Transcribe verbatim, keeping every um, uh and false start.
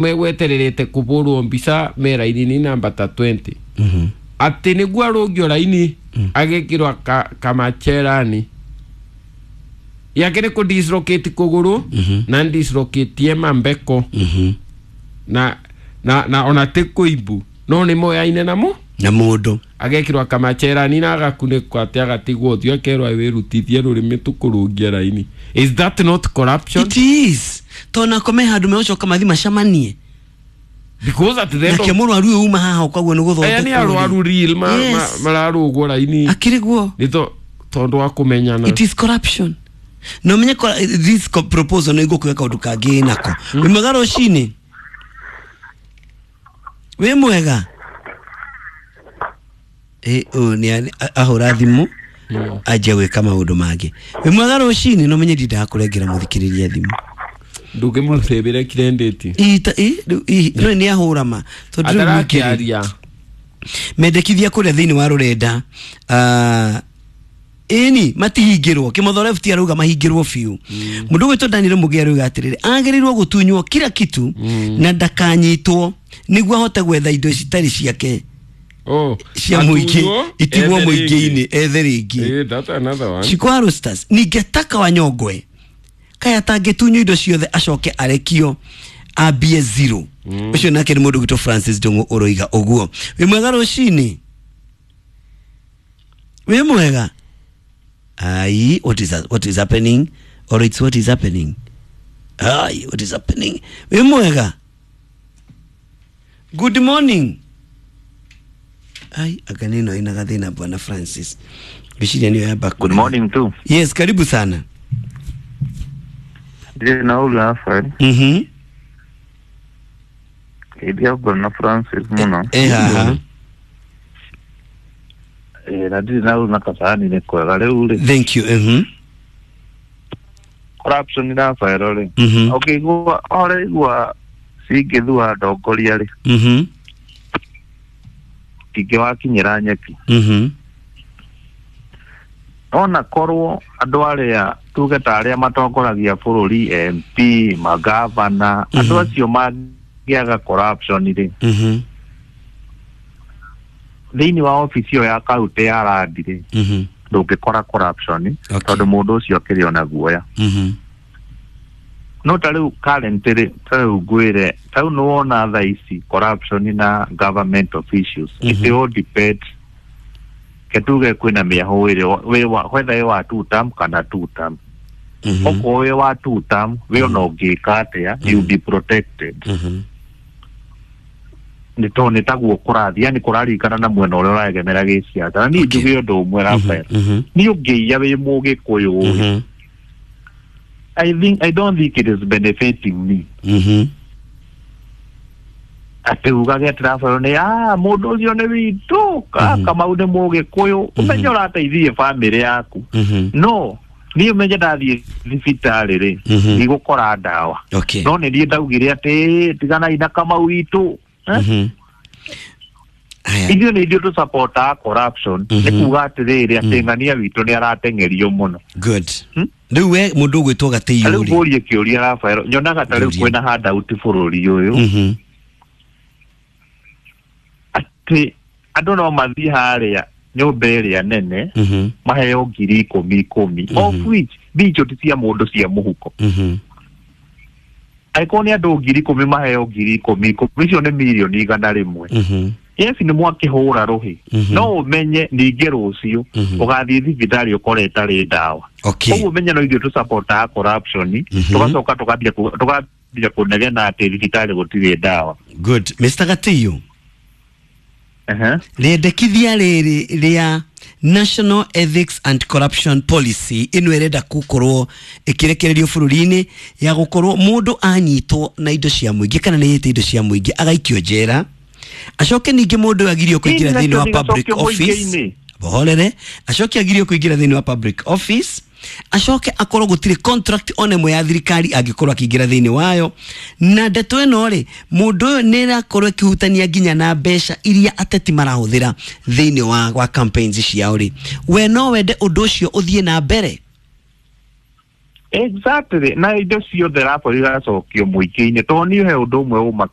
Megwetererete kũbũrwo mbica me raini-inĩ namba ta twenty. Atĩ nĩguo arũngio raini agekĩrwo ka, kamacherani yake nĩ kũ dislocate kũgũrũ na dislocate mambeko na na na ona ti kũimbu no nĩ moyaine namo na mũndũ agekĩrwo kamacherani na agakunĩkwo atĩ agatigwo ũthiũ akerwo wĩrutithie rũrĩmĩ tũkũrũngie raini. Is that not corruption? It is tona kome handu megocoka mathi macamanie Because at the end nake of mũrwaru ũyũ uma haha ũkaguo nĩ aya nĩ gũthondekwo arwaru real ma, Yes. ma, mararũgwo raini akĩrĩ guo nĩ to tondũ wa kũmenyana. It is corruption na ũmenye ko- this co- proposal nĩ igũkũhe kaũndũ kangĩ nako. Wĩ mwega rũcinĩ? Wĩ mwega? Ĩ, ũyũ nĩ a- ahũra thimũ anjia gwĩka maũndũ mangĩ. Wĩ mwega rũcinĩ? Na ũmenye ndindaga kũrengera mũthikĩrĩria thimũ. Ndũngĩmũcĩbĩre kirendĩti. Ita- ĩ, rĩu- ĩ, no nĩ ahũra ma tondũ rĩu ningĩ- Atarakĩaria. Mendekithia kũrĩa thĩinĩ wa rũrenda, ah, ĩni matihingĩrwo Kĩmotho Left arauga mahingĩrwo biũ. Mũndũ ũgwĩtwo Daniel Mũgĩ arauga atĩrĩrĩ, agĩrĩirwo gũtunywo kila kitu na ndakanyitwo nĩguo ahote gwetha indo citarĩ ciake Oh, cia mũingĩ atunywo, itigwo ethe mũingĩ-inĩ rĩngĩ. ethe rĩngĩ. Eh, that's another one. Shiko Roosters ningetaka Wanyongwe kaya atangĩtunywo indo ciothe acoke arekio ambie zero. Ũcio nake nĩ mũndũ gwitũ Francis Ndung'u ũroiga ũguo. Wĩ mwega rũcinĩ? Wĩ mwega? Ai, what is, what is happening? Or it's what is happening? Ai, what is happening? Wĩ mwega? Good morning. Ai, anga nĩ ĩno ĩna gathĩna bwana Francis, ngwĩciria nĩyo yamba. Good morning too. Yes, karibu sana. Ndirĩ na ũru Rafael. Mhm. Geithia bwana Francis mũno. Eh, haha. Eh, na ndirĩ na ũru na kasani nĩ kwega rĩu rĩ. Thank you. Mhm. Corruption Rafael rĩ. Mhm. Ũkĩigua ũraigua cingĩthua ndongoria rĩ. Mhm. Ingĩwakinyĩra nyeki. Mhm. Ona korwo andũ arĩa tuge ta arĩa matongoragia bũrũri, M P, magavana, andũ acio mangĩaga corruption rĩ, Mhm. thĩinĩ wa obici ĩyo ya kaunti ya Randi rĩ, Mhm. ndũngĩkora corruption Okay. tondũ mũndũ ũcio akĩrĩ ona guoya. Mhm. No ta rĩu current rĩ, ta rĩu ngwĩre, ta rĩu nĩwona thaa ici corruption na government officials, Mhm. it all depends. Ke tuge kwĩna mĩahũ ĩrĩ wĩ wa whether wĩ wa two term kana two term. Mhm. Okorwo wĩ wa two term, wĩ ona ũngĩka atĩa, you be protected. Mhm. Nĩ tondũ nĩ taguo kũrathiĩ, yani kũraringana na mwena ũrĩa ũregemera gĩciaca. Na niĩ Okay. njuge ũndũ ũmwe, Rafael, Mhm. niĩ ũngĩiya wĩ mũgĩkũyũ, Mhm. I think I don't think it is benefiting me. Mhm. Atĩ ugage atĩ Rafael nĩ ah mũndũ ũcio nĩ witũ, ka Kamau nĩ mũgĩkũyũ, ũmenye ũrateithie bamĩrĩ yaku. Mhm. No niĩ ũmenye ndathiĩ thibitarĩ rĩ, Mhm. ndigũkora ndawa. Okay. No nĩ niĩ ndaugire atĩ tiganai na Kamau witũ. Eh? Mhm. Aya. Ithuĩ nĩ ithuĩ tũsapotaga corruption, Mhm. nĩ kuga atĩrĩrĩ atĩ ng'ania witũ nĩ arateng'erio mũno. Good. Hmm? Rĩu we mũndũ ũgwĩtwo Ta Gatĩiũ rĩu rĩ. ngũrie kĩũria Rafael, nyonaga ta rĩu Ngũria. kwĩna handout bũrũri ũyũ, Mhm. atĩ andũ no mathiĩ harĩa nyũmba ĩrĩa nene Mhm. maheo ngiri ikũmi ikũmi, of which mbia icio ti cia mũndũ, cia mũhuko. Mhm. Angĩkorwo nĩ andũ ngiri ikũmi maheo ngiri ikũmi ikũmi, icio nĩ mirioni igana rĩmwe. Mhm. Yes, nĩ mwakĩhũra rũhĩ, Mhm. no ũmenye ningĩ rũciũ Mhm. ũgathiĩ thibitarĩ ũkore ĩtarĩ ndawa. Okay. Koguo ũmenye no ithuĩ tũsapotaga corruption, Mhm. tũgacoka tũkambia ku- tũkambia kũnegena atĩ thibitarĩ gũtirĩ ndawa. Good. Mister Gatĩiũ. Ehe. Rĩendekithia rĩrĩ rĩa National Ethics and Corruption Policy ĩno ĩrenda gũkorwo ĩkĩrekererio bũrũri-inĩ ya gũkorwo mũndũ anyitwo na indo cia mũingĩ kana nĩ yĩte indo cia mũingĩ agaikio njera, acoke ningĩ mũndũ ũyũ agirio kũingĩra Ĩni thĩinĩ wa nacio public ndigacokio office. mũingĩ-inĩ. Bohorere, acoke agirio kũingĩra thĩinĩ wa public office, acoke akorwo gũtirĩ contract ona ĩmwe ya thirikari angĩkorwo akĩingĩra thĩinĩ wayo. Na ndeto ĩno rĩ, mũndũ ũyũ nĩ ĩrakorwo ĩkĩhutania nginya na mbeca iria ateti marahũthĩra thĩinĩ wa, wa campaigns ciao rĩ, we no wende ũndũ ũcio ũthiĩ na mbere? Exactly, na indo ciothe rapo igacokio mũingĩ-inĩ, tondũ niĩ he ũndũ ũmwe ũmakaga.